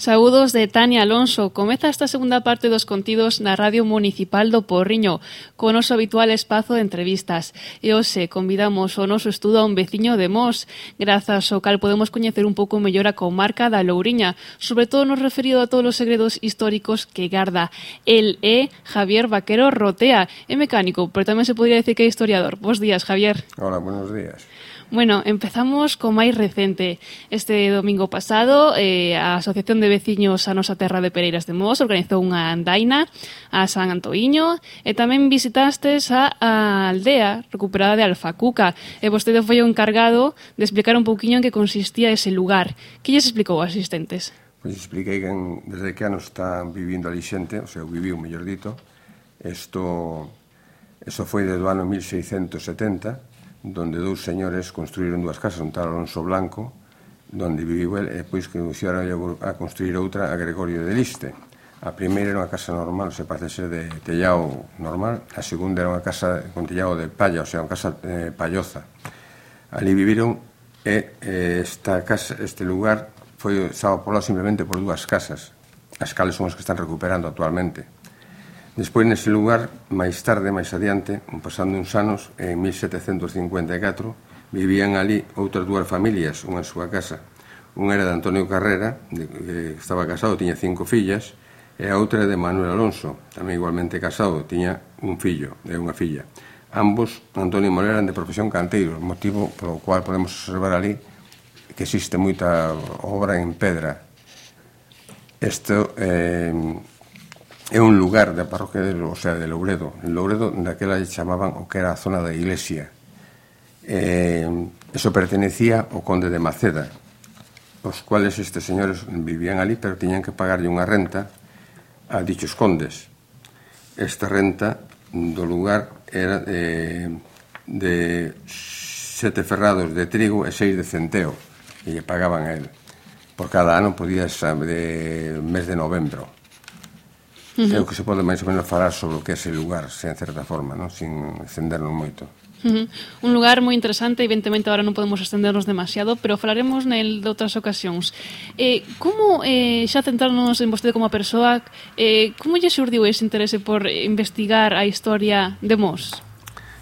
Saúdos de Tania Alonso. Comeza esta segunda parte dos contidos na Radio Municipal do Porriño, co noso habitual espazo de entrevistas. E hoxe convidamos ao noso estudo a un veciño de Mos, grazas ao cal podemos coñecer un pouco mellor a comarca da Louriña, sobre todo nos referido a todos os segredos históricos que garda. El é Javier Vaquero Rotea, é mecánico, pero tamén se podría decir que é historiador. Bos días, Javier. Hola, buenos días. Bueno, empezamos co máis recente. Este domingo pasado, a Asociación de Veciños a Nosa Terra de Pereiras de Mos organizou unha andaina a San Antoíño e tamén visitastes a aldea recuperada de Alfacuca e vostede foi o encargado de explicar un pouquiño en que consistía ese lugar. Que lles explicou aos asistentes? Pois expliquei que desde que ano están vivindo ali xente, o sea, viviu, mellor dito. Eso foi desde o ano 1670, donde dous señores construíron dúas casas, un tal Alonso Blanco, donde viviu el, e depois que iniciaron a construir outra a Gregorio de Liste. A primeira era unha casa normal, se parece ser de tellado normal, a segunda era unha casa con tellado de palla, o sea, unha casa palloza. Ali viviron e este lugar estaba poblado simplemente por dúas casas, as cales son as que están recuperando actualmente. Despois, nese lugar, máis tarde, máis adiante, pasando uns anos, en 1754, vivían ali outras dúas familias, unha en súa casa. Unha era de Antonio Carrera, que estaba casado, tiña 5 fillas, e a outra de Manuel Alonso, tamén igualmente casado, tiña un fillo e unha filla. Ambos, Antonio e Manuel, eran de profesión canteiros, motivo polo cual podemos observar ali que existe moita obra en pedra. Isto é un lugar da parroquia de Louredo. En Louredo, daquela chamaban o que era a zona da iglesia. Eso pertenecía ao conde de Maceda, os cuales estes señores vivían ali, pero tiñan que pagarlle unha renta a dichos condes. Esta renta do lugar era de 7 ferrados de trigo e 6 de centeo, e lle pagaban a él. Por cada ano podía ser de mes de novembro. É o que se pode máis ou menos falar sobre o que é ese lugar, en certa forma, non? Sin extendernos moito. Un lugar moi interesante, evidentemente agora non podemos extendernos demasiado, pero falaremos nel de outras ocasións. Como, xa centrarnos en vostede como a persoa, como lle xurdiu ese interese por investigar a historia de Mos?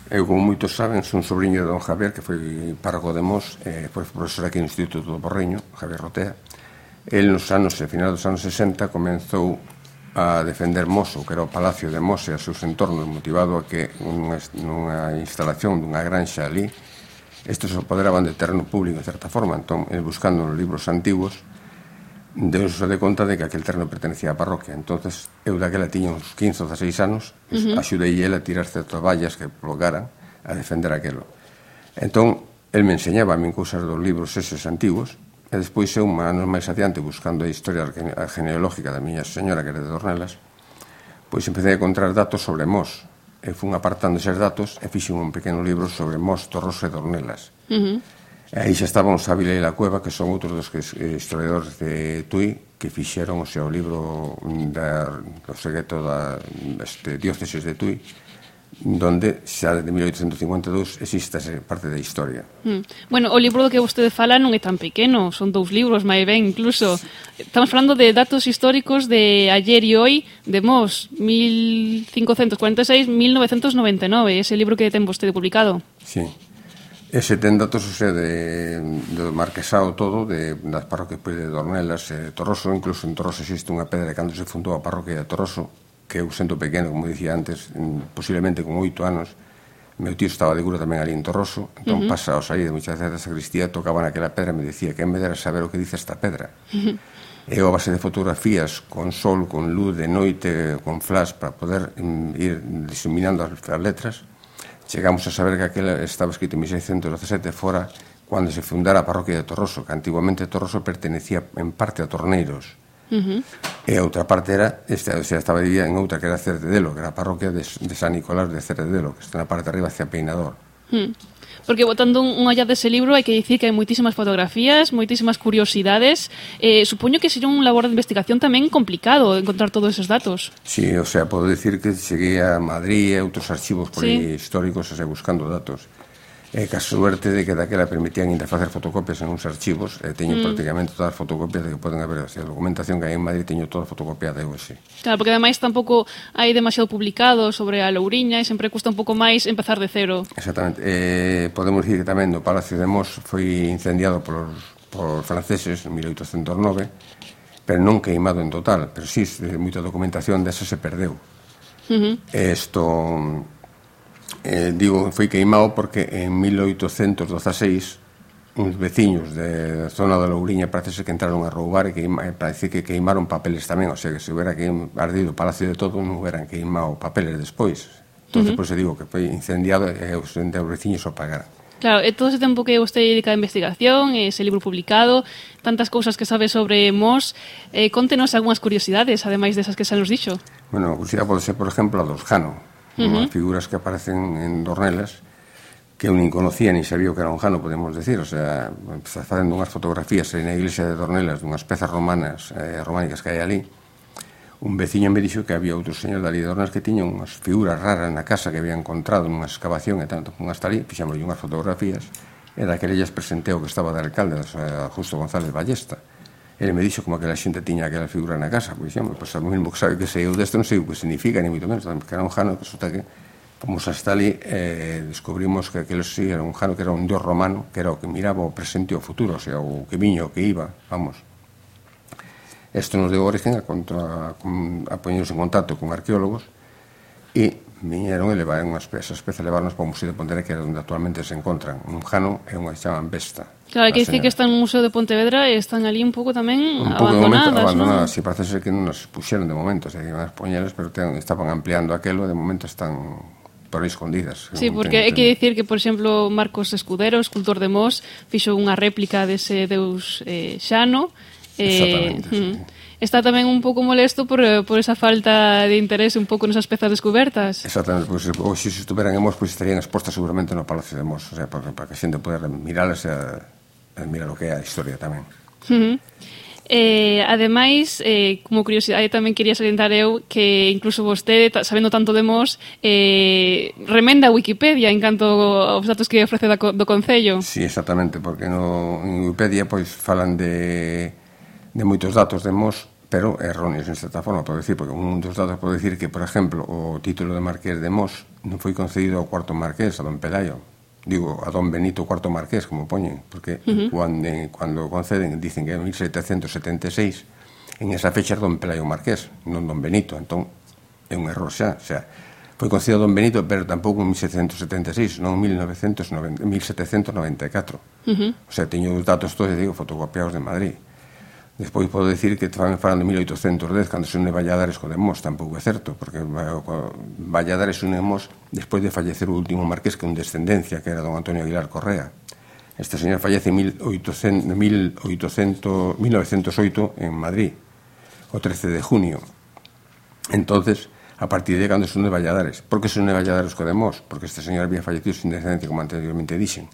Eu, como moitos saben, son sobrinho de don Javier, que foi párroco de Mos, foi profesor aquí no Instituto do Porriño, Javier Rotea. El, final dos anos 60, comenzou a defender Mos, que era o Palacio de Mos e a seus entornos, motivado a que nunha instalación dunha granxa ali, estes se apoderaban de terreno público, en certa forma. Entón, buscando nos libros antiguos, deuse de conta de que aquel terreno pertenecía á parroquia. Entonces, eu daquela tiña uns 15 ou 16 anos, axudei el a tirar certas vallas que colocaran a defender aquelo. Entón, el me enseñaba a min cousas dos libros eses antigos, e despois eu, anos máis adiante, buscando a historia genealógica da miña señora, que era de Dornelas, pois empecé a encontrar datos sobre Mos. E fun apartando eses datos e fixen un pequeno libro sobre Mos, Torroso e Dornelas. E aí xa estaban os Ávila e la Cueva, que son outros dos historiadores de Tui, que fixeron o seu libro do secreto da diócesis de Tui, donde xa desde 1852 existe esa parte da historia. Bueno, o libro do que vostede fala non é tan pequeno, son 2 libros, máis ben, incluso. Estamos falando de datos históricos de ayer e hoy de Mos, 1546-1999, ese libro que ten vostede publicado. Sí. Ese ten datos, o sea, do marquesado todo, das parroquias de Dornelas e Torroso. Incluso en Torroso existe unha pedra cando se fundou a parroquia de Torroso, que eu sento pequeno, como dicía antes, posiblemente con 8 anos. Meu tío estaba de cura tamén ali en Torroso, entón pasa ao sair de muchas veces da sacristía, tocaban aquela pedra e me decía que en vez de saber o que dice esta pedra. E a base de fotografías, con sol, con luz, de noite, con flash, para poder ir diseminando as letras, chegamos a saber que aquela estaba escrito en 1617 fora cando se fundara a parroquia de Torroso, que antiguamente Torroso pertenecía en parte a Torneiros. E a outra parte era, estaba dividida en outra que era Cerdedelo, que era a parroquia de San Nicolás de Cerdedelo, que está na parte de arriba hacia Peinador. Porque botando unha olla dese libro hai que dicir que hai moitísimas fotografías, moitísimas curiosidades. Supoño que sería un labor de investigación tamén complicado encontrar todos esos datos. Sí, o sea, podo dicir que cheguei a Madrid e outros archivos por aí históricos buscando datos. ca suerte de que daquela permitían ainda facer fotocopias en uns archivos, e teño prácticamente todas as fotocopias de que poden haber, a documentación que hai en Madrid teño toda fotocopiada eu, sí. Claro, porque ademais tampouco hai demasiado publicado sobre a Louriña e sempre custa un pouco máis empezar de cero. Exactamente. Podemos dicir que tamén o Palacio de Mos foi incendiado por franceses en 1809, pero non queimado en total, pero sí, moita documentación desa se perdeu. Digo, foi queimado porque en 1816 uns veciños da zona da Louriña parece que entraron a roubar e parece que queimaron papeles tamén, o sea que se hubiera ardido o Palacio de Todo non hubieran queimado papeles despois. Entón, por eso digo que foi incendiado e os veciños o pagaran. Claro, e todo ese tempo que vostede dedica a investigación, ese libro publicado, tantas cousas que sabe sobre Mos, contenos algunhas curiosidades, ademais desas que xa nos dixo. Bueno, a curiosidade pode ser, por exemplo, a dos Jano, unhas figuras que aparecen en Dornelas que eu nin conocía, nin sabía o que era un jano, podemos decir, o sea, facendo unhas fotografías na iglesia de Dornelas dunhas pezas románicas que hai ali. Un veciño me dixo que había outro señor dali de Dornelas que tiña unhas figuras raras na casa que había encontrado nunha excavación e tanto, hasta ali, fixamos unhas fotografías e daquele lles presentei o que estaba de alcalde, Justo González Ballesta. Ele me dixo como aquela xente tiña aquela figura na casa, pois dixemos, pois a mesmo que sabe que sei eu desto non sei o que significa, ni moito menos, que era un jano que resulta que fomos hasta ali descubrimos que aquele sí era un jano que era un dios romano, que era o que miraba o presente e o futuro, o sea, o que viña, o que iba, vamos. Isto nos deu origen a poñernos en contacto con arqueólogos e viñeron e levaron esas pezas, levarnos para o Museo de Pontevedra, que é onde actualmente se encontran un jano e unha que chaman Vesta. Claro, hai que dicir que están no Museo de Pontevedra e están ali un pouco tamén abandonadas, non? Si parece ser que non nos puxeron de momento, o sea, que iban a poñelas, pero estaban ampliando aquelo e de momento están por aí escondidas. Sí, porque hai que dicir que, por exemplo, Marcos Escudero, escultor de Mos, fixo unha réplica dese deus Xano. Exactamente, sí. Está tamén un pouco molesto por esa falta de interese un pouco nesas pezas descobertas. Exactamente, pois se estuveran en Mos, pois estarían expostas seguramente no Palacio de Mos, o sea, para que a xente poder miralas e mirar o que é a historia tamén. Ademais, como curiosidade tamén quería salientar eu que incluso vostede, sabendo tanto de Mos, remenda a Wikipedia en canto aos datos que ofrece do Concello. Sí, exactamente, porque en Wikipedia pois falan de moitos datos de Mos, pero erróneos en certa forma, podo dicir, porque un dos datos pode dicir que, por exemplo, o título de Marqués de Mos non foi concedido ao cuarto Marqués, a don Pelayo, digo, a don Benito IV Marqués, como poñen, porque cando conceden dicen que en 1776 en esa fecha era don Pelayo Marqués, non don Benito, entón é un error xa, o sea, foi concedido a don Benito, pero tampouco en 1776, non en 1794. O sea, teño os datos todos, digo, fotocopiados de Madrid. Despois podo dicir que falan de 1810, cando se une Valladares co de Mos, tampouco é certo, porque Valladares une Mos despois de fallecer o último marqués, que é un descendencia, que era don Antonio Aguilar Correa. Este señor fallece en 1908 en Madrid, o 13 de junio. Entonces, a partir de cando se une Valladares. Por que se une Valladares co de Mos? Porque este señor había fallecido sin descendencia, como anteriormente dixen.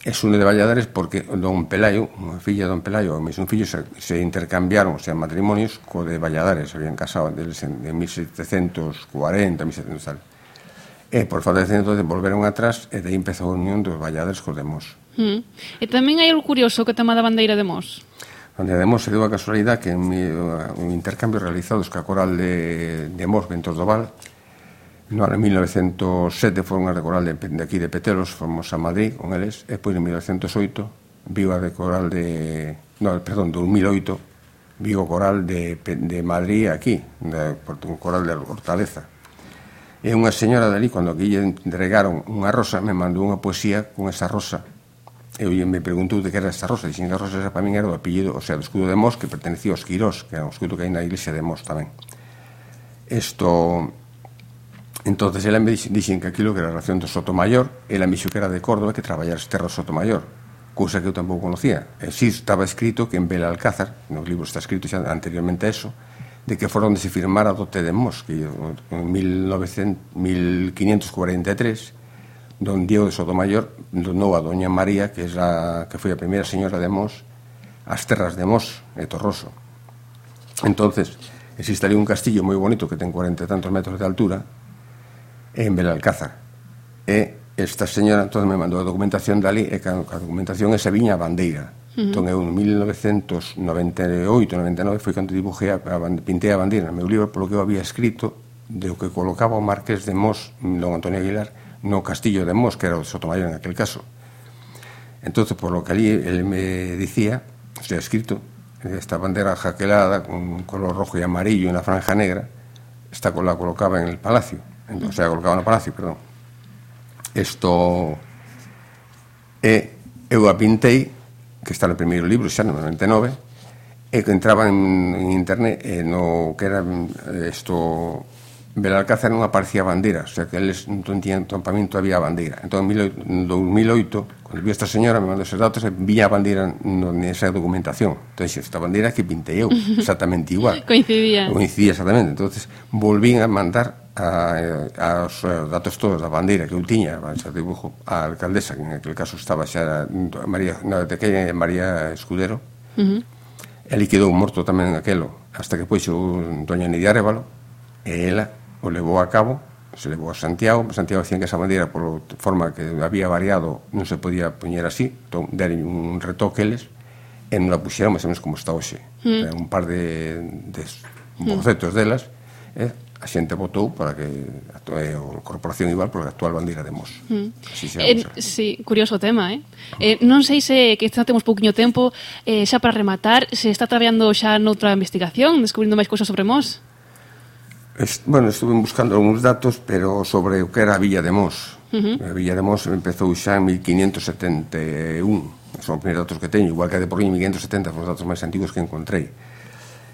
É une de Valladares porque don Pelayo, unha filla de don Pelayo, o mesmo fillo se intercambiaron, o sea, matrimonios co de Valladares, se habían casado deles en 1740, 1700 tal. E por falta de descendencia volveron atrás e de aí empezou a unión dos Valladares co de Mos. E tamén hai algo curioso que tema da bandeira de Mos. A bandeira de Mos se deu a casualidade que un intercambio realizados ca coral de Mos, Ventos do Val. No ano 1907 foron a coral de aquí de Petelos, fomos a Madrid con eles, e depois en 1908 viu a de coral de... No, perdón, 2008 viu o coral de Madrid aquí, un coral de Hortaleza. E unha señora dali, cando aquí lle entregaron unha rosa, me mandou unha poesía con esa rosa. E me preguntou de que era esta rosa, e dixen que a rosa esa para min era do apellido, o sea, do escudo de Mos, que pertenecía aos Quirós, que era un escudo que hai na iglesia de Mos tamén. Entonces, ela me dixen que aquilo que era a relación do Sotomayor, ela me dixo que era de Córdoba, que traballar as terras Sotomayor, cousa que eu tampouco conocía. E si estaba escrito que en Belalcázar, nos libros está escrito xa anteriormente a eso, de que fora onde se firmara a dote de Mos, que en 1543, don Diego de Sotomayor donou a doña María, que foi a primeira señora de Mos, as terras de Mos e Torroso. Entonces, existe ali un castillo moi bonito que ten 40 e tantos metros de altura, en Belalcázar, e esta señora entón me mandou a documentación dali e a documentación esa viña a bandeira. Entón eu en 1998-99 foi cando dibujei pintei a bandeira no meu libro polo que eu había escrito de o que colocaba o Marqués de Mos, don Antonio Aguilar, no castillo de Mos, que era o de Sotomayor en aquel caso. Entón, por lo que allí él me dicía, o sea, escrito, esta bandera jaquelada con color rojo y amarillo y una franja negra, esta la colocaba en el palacio, o sea, colocaba no palacio, perdón. Isto eu a pintei, que está no primeiro libro, xa no 99, e que entraba en internet no que era isto Belalcázar non aparecía bandeira, o sea que eles non tiñan campamento, había bandeira. Entón, en 2008, cando viu esta señora, me mandou esos datos e vía a bandeira nesa documentación. Entón, esta bandeira que pintei eu, exactamente igual. Coincidía exactamente. Entón, volvín a mandar os datos todos da bandeira que eu tiña, ese dibujo, a alcaldesa, que en aquel caso estaba xa María Escudero, e quedou morto tamén aquelo, hasta que pois doña Nidia Arévalo, e ela o levou a cabo, se levou a Santiago. Santiago decían que esa bandeira, por forma que había variado, non se podía poñer así, entón deron un retoque eles, e non la puxeron máis ou menos como está hoxe. Un par de bocetos delas, a xente votou para que a corporación igual para a actual bandeira de Mos. Sí, curioso tema, non sei se que temos pouquiño tempo, xa para rematar, se está traballando xa noutra investigación, descubrindo máis cousas sobre Mos? Bueno, estuve buscando algúns datos, pero sobre o que era a Villa de Mos. A Villa de Mos empezou xa en 1571. Son os primeiros datos que teño, igual que a de Porriño en 1570, foron os datos máis antigos que encontrei.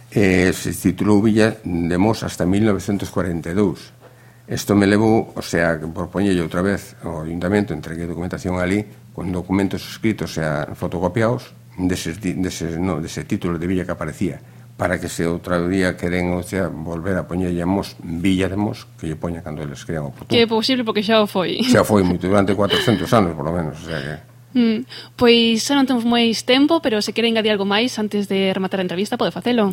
Se titulou Villa de Mos hasta 1942. Isto me levou, o sea, por poñelle outra vez ao ayuntamento, entreguei documentación ali, con documentos escritos, o sea, fotocopiados, dese título de villa que aparecía, para que se outra día queren, o sea, volver a poñerlle a Mos, Villa de Mos, que lle poña cando eles crean oportuno. Que é posible porque xa o foi. Xa foi moito, durante 400 anos, por lo menos, o sea que... Pois xa non temos máis tempo, pero se quere engadir algo máis antes de rematar a entrevista, pode facelo.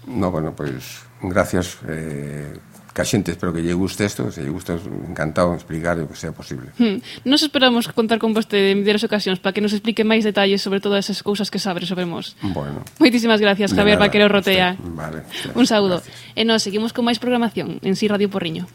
No, bueno, pois, gracias, que a xente espero que lle guste isto, se lle gusta, encantado de explicar o que sea posible. Nos esperamos contar con vostede en diversas ocasións para que nos explique máis detalles sobre todas esas cousas que sabe sobre Mos. Bueno. Moitísimas gracias, Javier Vaquero Rotea. Vale. Un saúdo. Gracias. E nos seguimos con máis programación en Si Radio Porriño.